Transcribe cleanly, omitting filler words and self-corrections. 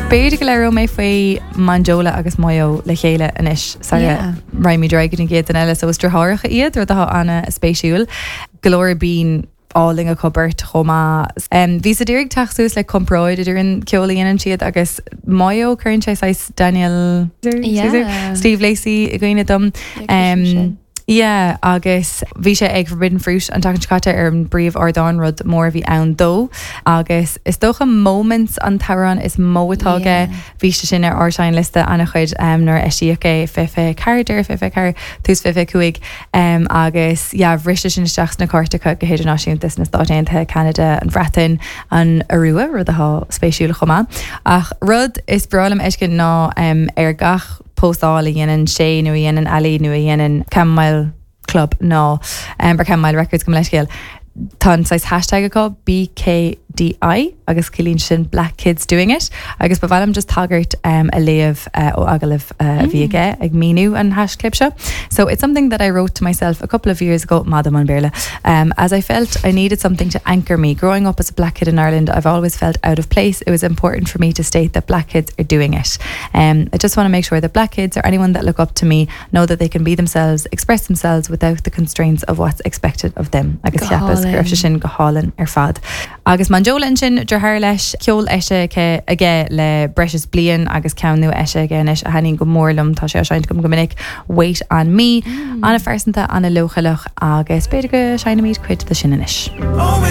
B'fhéidir go labhróidh mé faoi Monjola agus Moyo le chéile anois sara raghaimid ar aghaidh go dtí an gcéad duine eile. So is deartháireacha iad, rud atá an-spéisiúil. Glór binn álainn acu beirt chomh maith. Bhíos ag iarraidh teacht suas le comparáid idir an ceol a dhéanann siad agus Moyo, cuireann sé saghas Daniel Caesar, Steve Lacy i gcuimhne dom. Yeah, agus bhí sé ag Forbidden Fruit an tseachtain seo caite ar an bpríomh-ardán, rud mór a bhí ann dó. Agus is dócha Moments an t-amhrán is mó atá aige. Bhí sé sin ar ár seinnliosta an-chuid nuair a eisíodh é, 2024, deireadh 2024, tús 2025. Agus yeah, bhris sé sin isteach sna cairteacha go hidirnáisiúnta sna Stáit Aontaithe, Ceanada, an Bhreatain, an Iorua, rud atá spéisiúil chomh maith. Ach rud is breá liom a fheiscint ná ar gach póstáil a dhéanann sé nó a dhéanann Ali nó a dhéanann Chamomile Club nó or Chamomile Records gabh mo leithscéal, tá an saghas hashtag acu, BKDI, agus ciallaíonn sin Black Kids Doing It agus ba mhaith liom just tagairt a léamh ó agallamh a bhí aige ag míniú an haischlib seo. So it's something that I wrote to myself a couple of years ago, maith dom an Béarla, as I felt I needed something to anchor me. Growing up as a black kid in Ireland, I've always felt out of place. It was important for me to state that black kids are doing it. Um, I just want to make sure that black kids or anyone that look up to me know that they can be themselves, express themselves without the constraints of what's expected of them. Agus cheapas go raibh sé sin go hálainn ar fad. Agus Monjola ansin, deartháir leis, ceol eisithe aige le breis is bliain agus ceann nua eisithe aige anois a thaitníonn go mór liom, tá sé á seinnt agam go minic, Wait on Me. An-phearsanta, an-leochaileach agus b'fhéidir go seinnfimid cuid de sin anois.